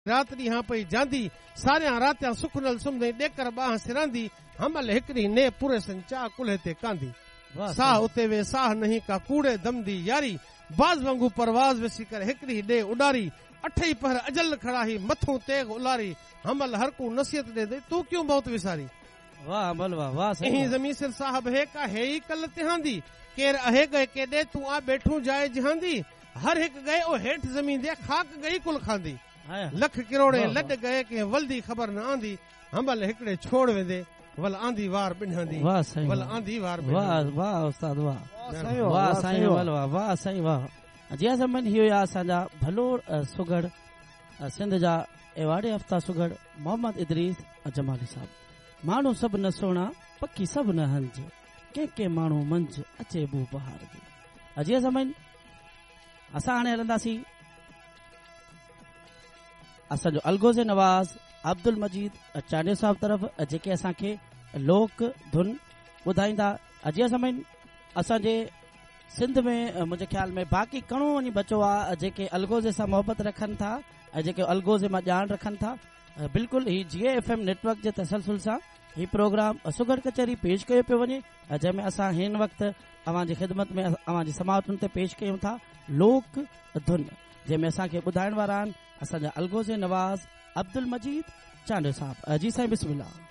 رات ڏينهان پئي جاندي، ساريان راتيان سک نل سمهندئين ڏيڪر ٻانهن سراندي، حمل هڪ ڏينهن ني پوريسن چاء ڪلهي تي ڪانڌي. ساهه اتي وي ساهه نهين ڪا ڪوڙي دم the ياري، باز وانگو پرواز وسي ڪر هڪ ڏينهن ڏي اڏاري، اٺئي پهر اجل کڙاهي مٿون تيغ الاري، حمل هر ڪو نصيحت ڏيندئي تون ڪيون موت وساري. واه حمل واه واه سائين اهين واه. زمين سر صاحب هي ڪا هي ئي ڪل تهاندي، ڪير اهي ڳئي ڪيڏي تون آ ٻيٺون جاء جهاندي، هر هڪ ڳئي او هيٺ زمين the خاڪ ڳئي ڪل کاندي. لک ڪروڙين لڏ ڳئي ڪنهن ولدي خبر نه آندي، حمل هڪڙي ڇوڙ ويندي ول آندي وار ٻنهاندي واه سائين ول واه آندي وار واه ٻنهاندي. واه استاد واه سائين واه واه سائين سائين حمل واه واه سائين واه جي ها سامعين هي هيا اسان جا ڀلوڙ سگهڙ سنڌ جا ايوارڊ يافته سگهڙ محمد ادريس جمالي صاحب ماڻهو سڀ نه سهڻا پکي سڀ نه هنج ڪنهن ڪنهن ماڻهو منجهه اچي بو بهار جي جي ها سامعين اسان هاڻي هلنداسين اسان جو الغوزي نواز عبدالمجيد چانڊيو صاحب طرف جيڪي اسان کي لوڪ ڌن ٻڌائيندا جي ها سامعين اسان جي سنڌ ۾ منهنجي خيال ۾ باقي ڪڻو وڃي بچو آ جيڪي الغوزي سان محبت رکن ٿا ۽ جيڪي الغوزي مان ڄاڻ رکن ٿا بلڪل هي جي ايف ايم نيٽورڪ جي تسلسل سان هي پروگرام سگهڙ ڪچهري پيش ڪيو پيو وڃي جنهن ۾ اسان هن وقت اوهان جي خدمت ۾ اوهان جي سماعتن تي پيش ڪيون ٿا لوڪ ڌن جنهن ۾ اسان کي ٻڌائڻ وارا آهن اسان جا الغوزي نواز عبدالمجيد چانڊيو صاحب جي سائين بسم الله.